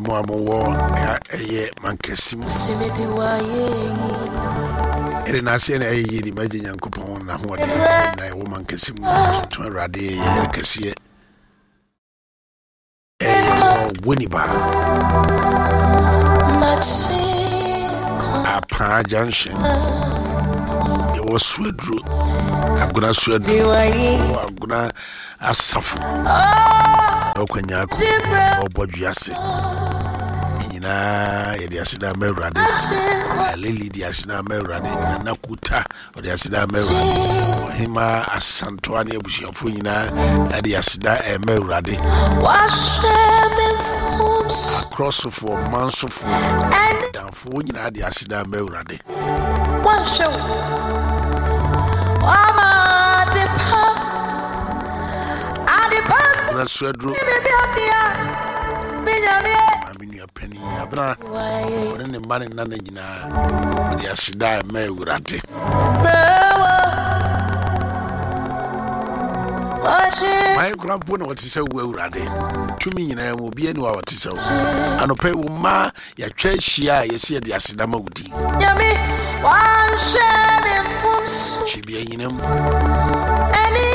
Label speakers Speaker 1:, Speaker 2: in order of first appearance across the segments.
Speaker 1: Mo a mowɔ ɛyɛ mankɛse mu ɛde n'aseɛ na ɛyɛ yie de magye Nyankopɔn n'ahoɔden na ɛwɔ mankɛse mu tontom Awurade yɛyɛ kɛseɛ ɛyɛ wɔ Winneba Apaa Junction yɛwɔ Suaduro Agona Suaduro wɔ Agona Asafo ɛwɔ Kwanyako ɛwɔ Bɔdwease nyinaa yɛde aseda ama Awurade. Lily de aseda ama Awurade. Nana Kuta ɔde aseda ama Awurade. Ɔhema Asantoa ne abusuafoɔ nyinaa ɛde aseda ɛma Awurade. Akorɔsofoɔ, mansofoɔ, danfoɔ nyinaa de aseda ama Awurade. Abena Suaduro maame nua panin Abena ɔne ne mma ne nana nyinaa ɔde aseda ɛma Awurade. Hwan kora mpo na ɔte sɛ wo Awurade? Tumi nyinaa mu obiara ni hɔ a ɔte sɛ wo. Anɔpa yi wo mma yɛatwa ahyia a yɛsi yɛde aseda ma wo din.
Speaker 2: Nyame wanhwɛ me mfomso.
Speaker 1: Hyɛ bia nyina mu.
Speaker 2: Ɛne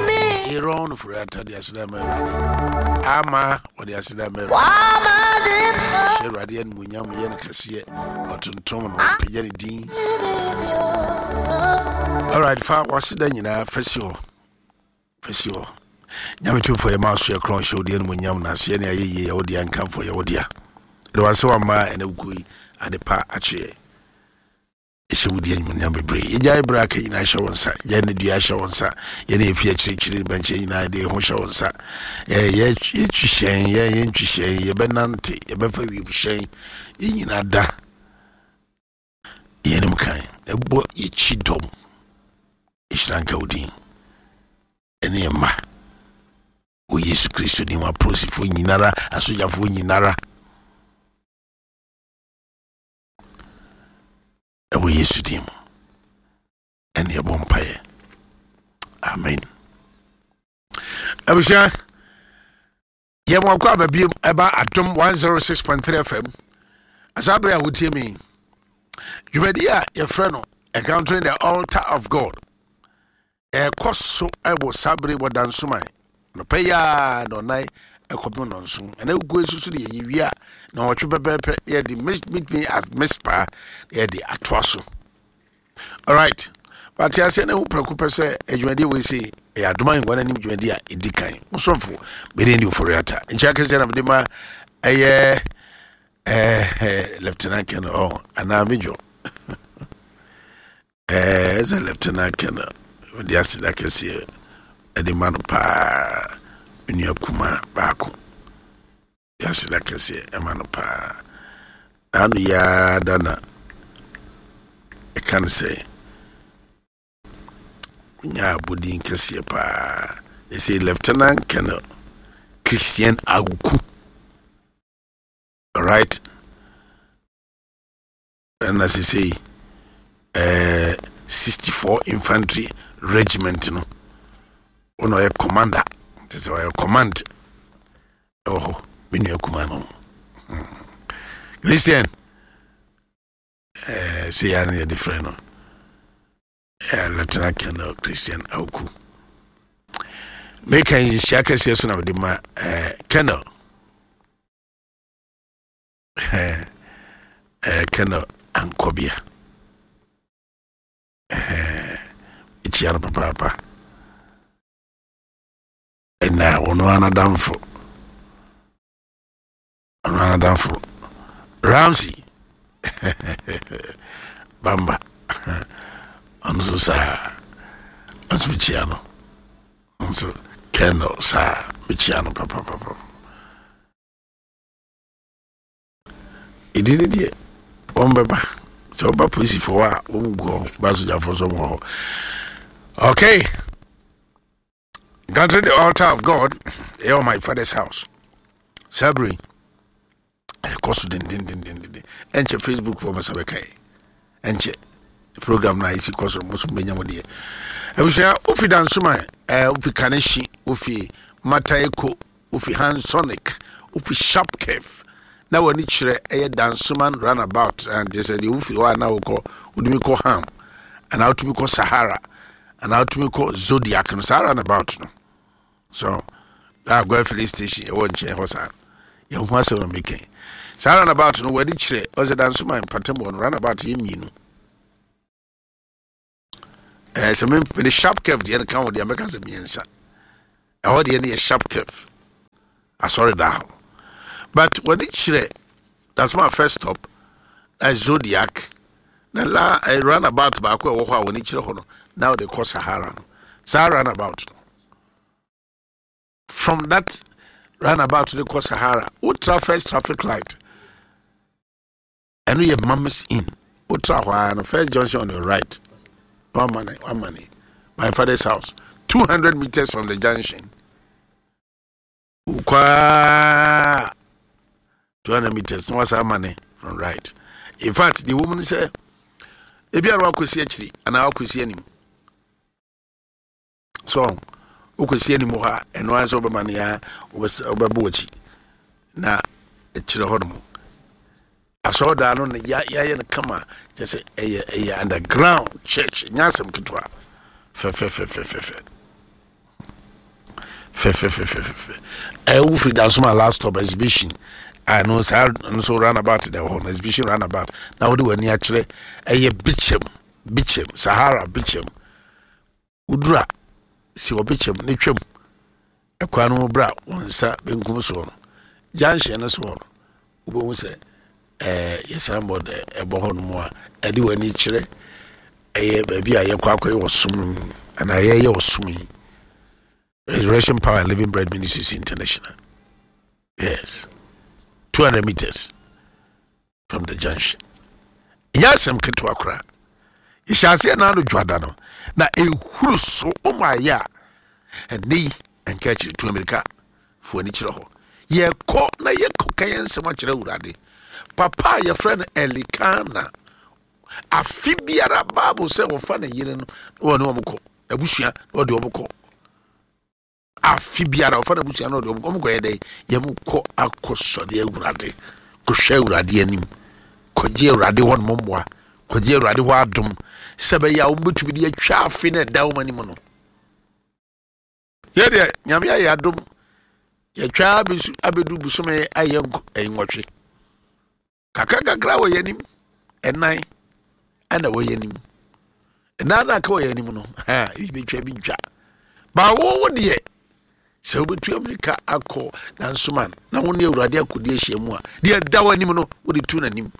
Speaker 2: me.
Speaker 1: Aaron Ofori-Atta de aseda ma Awurade. Ama ɔde aseda ma Awurade.
Speaker 2: Wama de pa.
Speaker 1: Hyɛ Awurade animuonyam yɛ no kɛseɛ. Ɔtontom no ɔpagya ne din. Alright, fa w'aseda nyinaa fa si hɔ. Fa si hɔ. Nyame tumfoɔ yɛ ma so yɛ korɔn hyɛ wo deɛ animuonyam na aseɛ ne ayɛ yie yɛ wo dea nkamfo yɛ wo dea. Ɛde w'asɛ wama ɛna wukuo yi ade pa akyeɛ. Ɛhyɛ wo di animuonyam bebree. Yɛgyae berɛ aka nyinaa hyɛ wo nsa. Yɛn ne dua hyɛ wo nsa. Yɛne yɛfi akyirikyiri ne bɛnkyɛn nyinaa yɛde yɛn ho hyɛ wo nsa. Yɛtwi hyɛn, yɛn yɛntwi hyɛn, yɛbɛnante, yɛbɛfa wiemhyɛn. Yɛn nyinaa da yɛn anim kan. Ɛbɔ yɛkyi dɔm. Ɛhyira nka wo din. Ɛne yɛn mma. Wɔ Yesu Kristo din mu apolisifoɔ nyinara, asogyafoɔ nyinara. Ɛwɔ Yesu din mu ɛne ɛbɔ mpaeɛ, amen. Abusua, yɛ mo akɔ aba biom ɛba Adom 106.3 FM asaa bere a wotie me dwumadi a yɛfrɛ no Encountering the Altar of God ɛkɔ so ɛwɔ saa bere wɔ Dansoman nɔpɛ yi a nɔnan ɛkɔpem nɔnson ɛna egu nso so de yɛyi wie a na ɔtwe pɛpɛɛpɛ yɛde meet me at Mispa yɛde atoa so. Alright, but aseɛ na ehu prɛko pɛ sɛ adwumadie wei sei ɛyɛ Adom Ahengua no anim dwumadie a ɛdi kan. Mosomfo mede ne Ofori-Atta nkyɛn akɛseɛ na mede ma ɛyɛ ɛɛ Lieutenant Colonel ɔ anaa Major ɛɛ sɛ Lieutenant Colonel mede aseda kɛseɛ ɛde ma no paa, me nua kuma baako de aseda kɛseɛ ɛma no paa. Ano yaa da na ɛka no sɛ wonya abɔdin kɛseɛ paa ɛsɛ Lieutenant Colonel Christian Awuku. Alright, ɛna sesei 64 Infantry Regiment no ɔna ɔyɛ commander, te sɛ ɔyɛ command ɛwɔ hɔ. Me nua kuma no Christian sɛ yɛ ne yɛde frɛ no Lieutenant Colonel Christian Awuku. Meka nhyia kɛseɛ so na mede ma Colonel Colonel Ankɔbea. Ɛkyia no papaapa ɛna ɔno anadamfo, ɔno anadamfo Ramsey Bamba ɔno nso saa ɔnso mekyia no, nso Colonel saa mekyia no papapapa. Ɛdi ne deɛ wɔn bɛba sɛ wɔba polisifoɔ a wɔn gu hɔ ba sogyafoɔ so wɔn wɔ hɔ. Okay, Encountering the Altar of God ɛyɛ my father's house saa bere ɛkɔ so dendendendenden. Ɛnkyɛ Facebook fo masa bɛka yi, ɛnkyɛ program no a ɛsi kɔ so mo so mbɛnya mo deɛ. Abusua, wofi Dansoma, wofi Kanehyi, wofi Mataeko, wofi Hansonic. Wofi Sharp Curve na w'ani kyerɛ ɛyɛ Dansoman runabout and kyerɛ sɛ deɛ wofiri hɔ a na wokɔ wotumi kɔ Ham anaa wotumi kɔ Sahara anaa wotumi kɔ Zodiac no saa runabout no so Agua filling station ɛwɔ nkyɛn hɔ saa yɛn ho asɛm na meka saa runabout no w'ani kyerɛ ɔsɛ Dansoman mpatam hɔ no runabout yɛ mmienu ɛɛ sɛ mede sharp curve deɛ no ka ho deɛ mɛka sɛ mmiɛnsa ɛhɔ deɛ no yɛ sharp curve asɔre da hɔ but wɔde kyerɛ that's my first stop na zodiac na la eh, runabout baako a ɛwɔ hɔ a wɔde kyerɛ hɔ no na wɔde kɔ sahara no saa runabout no from that runabout de kɔ sahara wotra first traffic light Ɛno yɛ Mama's Inn. Wotra hɔ ara no, first junction on your right. Wamane, wamane. My father's house. 200 meters from the junction. Wokɔ 200 meters na wasa amane from right. In fact, the woman sɛ, ebi a na wakɔsi akyiri anaa wakɔsi anim. So wokɔsi anim hɔ a ɛno ara sɛ wobɛma no a wobɛbɔ w'akyi na ɛkyerɛ hɔ nom asɔredan no na yɛayɛ no kama kyɛ sɛ ɛyɛ ɛyɛ underground church nyɛ asɛm ketewa fɛfɛfɛfɛfɛ fɛfɛfɛfɛfɛ ɛyɛ wofiri dansoma last stop exhibition a no saa no so runabout da hɔ no exhibition runabout na wode w'ani akyerɛ ɛyɛ bikyɛm bikyɛm sahara bikyɛm Woduru a, si wɔ bekyɛm na twam kwan no mu bra wo nsa benkum soɔ no. Junction no soɔ no, wobɛhu sɛ ɛɛ yɛ signboard ɛbɔ hɔ nom a ɛde w'ani kyerɛ ɛyɛ baabi a yɛkɔ akɔyɛ ɔsom no anaa yɛyɛ ɔsom yi. Resurrection Power and Living Bread Ministries International. Yes. 200 meters. from the junction ɛnyɛ asɛm ketewa koraa yɛhyɛ aseɛ na ano dwada no na ɛhuru so wɔn ayɛ a ɛnɛ yi ɛnka akyiri tu amirika fo ani kyerɛ hɔ yɛkɔ na yɛkɔ ka yɛn nsɛm akyerɛ awurade papa a yɛfrɛ no elikana afe biara bible sɛ wɔfa ne yere no na wɔne wɔn kɔ abusua na wɔde wɔn kɔ Afe biara ɔfa n'abusua no ɔde wɔn kɔyɛ dɛn? Yɛn kɔ akɔsɔre Awurade, kɔhwɛ Awurade anim, kɔgye Awurade hɔ nom mmoa, kɔgye Awurade hɔ adom, sɛ bɛyɛ a wɔbɛtumi de atwa afe no ɛda wɔn anim no. Yɛ deɛ Nyame ayɛ adom, yɛtwa abɛdu bosome ayɛ nwɔtwe. Kakra kakra wɔ yɛn anim, ɛnan ɛna wɔ yɛn anim. Ɛnan na aka wɔ yɛn anim no, ha ebi betwa ebi ntwa. Baawo wo deɛ, sɛ wobɛtu amirika akɔ nansoman na wo ne awurade akɔdi ahyia mu a, deɛ ɛda w'anim no wode tu n'anim.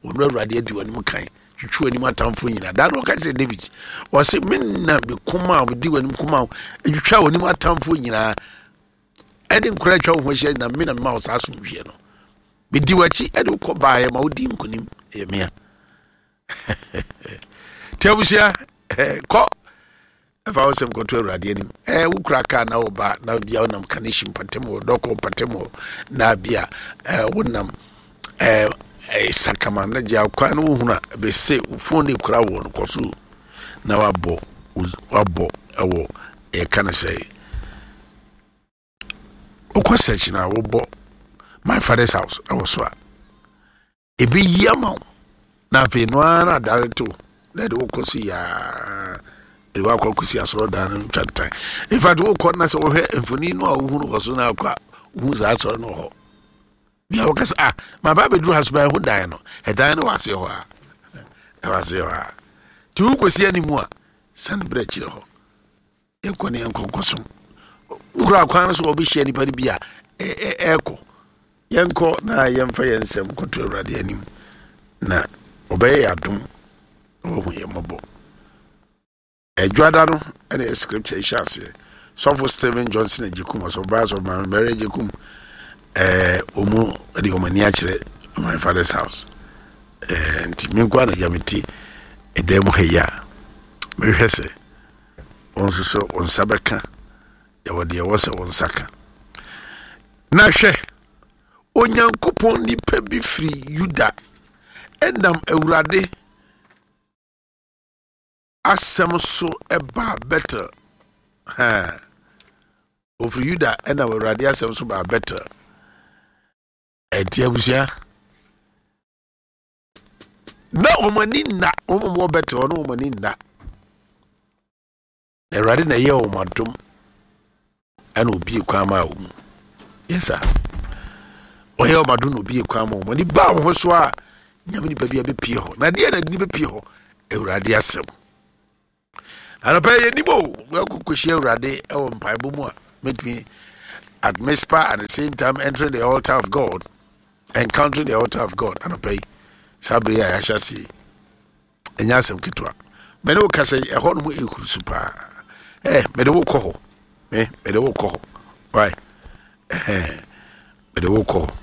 Speaker 1: Wɔn awurade adi w'anim kan, twitwi w'anim atamfo nyinaa. Daa no ɔka kyerɛ David, ɔse me na me koma a medi w'anim koma a twitwa w'anim atamfo nyinaa. Ɛde nkora atwa wo ho ahyia na me na mema wo saa asomdwoeɛ no. Medi w'akyi de wo kɔ baeɛ ma wodi nkonim ɛyɛ mea. Nti abusua kɔ ɛfa wo sɛm kɔto awurade anim. Ɛɛ wokura kaa na woba na bia wonam kanehyi mpɔtam hɔ dɔkɔ mpɔtam hɔ na bia ɛɛ wonam ɛɛ sakama na gya kwan no wohunu a bɛsɛ wo fon no ekura wɔ no kɔ so na wabɔ wabɔ ɛwɔ yɛka no sɛ wokɔ search na wobɔ my father's house ɛwɔ so a ɛbɛyi ama wo na afei no ara na adare to na ɛde wokɔ si yaa ɛde wakɔ akɔsi asɔredan no twa ntan in fact wokɔ na sɛ wohwɛ mfoni no a wohunu wɔ so no akɔ a wohu saa asɔre no wɔ hɔ bia woka sɛ ah maba abɛduru ha so bɛho dan no ɛdan no wɔ aseɛ hɔ a ɛwɔ aseɛ hɔ a nti wokɔsi anim a sane berɛ akyirɛ hɔ Yɛnkɔ ne yɛnkɔ nkɔsom. Wokura kwan no so wɔbɛhyia nnipa no bi a ɛrekɔ. Yɛnkɔ na yɛmfa yɛn nsɛm nkɔto Awurade anim na ɔbɛyɛ yɛn adom na wahu yɛn mmɔbɔ. Adwada no ɛna yɛ scripture hyɛ aseɛ. Sɔfo Stephen Johnson Agyekum, ɔsɔfo sɔfo Maame Mary Agyekum, ɛɛ wɔn de wɔn ani akyerɛ my father's house. Ɛɛ nti me nko ara na gya me ti ɛdan mu ha yi a mehwɛ sɛ Wɔn nso sɛ wɔn nsa bɛka yɛwɔ deɛ ɛwɔ sɛ wɔn nsa ka. Na hwɛ, Onyankopɔn nipa bi firi Yuda ɛnam Awurade asɛm so baa Betel. Ha. Ofiri Yuda ɛnam Awurade asɛm so baa Betel. Nti abusua na wɔn ani nna, wɔn a wɔwɔ Betel no wɔn ani nna. Na Awurade na ɛyɛ wɔn adom ɛna obie kwan maa wɔn. Yes sir. Ɔyɛ wɔn adom na obie kwan maa wɔn. Ani baa wɔn ho so a nyame nipa bi abɛpie hɔ. Na deɛ na de bɛpie hɔ? Awurade asɛm. Anɔpa yɛ nim o, wɔakɔkɔhyia Awurade ɛwɔ mpaebɔ mu a mɛtumi at Mizpah at the same time entering the altar of God, encountering the altar of God anɔpa yi saa bere yi a yɛahyɛ ase yi. Ɛnyɛ asɛm ketewa. Me ne wo kasa yi, ɛhɔ nom ɛhuru su paa. Eh, mede wo kɔ hɔ. Me, mede wo kɔ hɔ. Why? Eh, mede wo kɔ hɔ.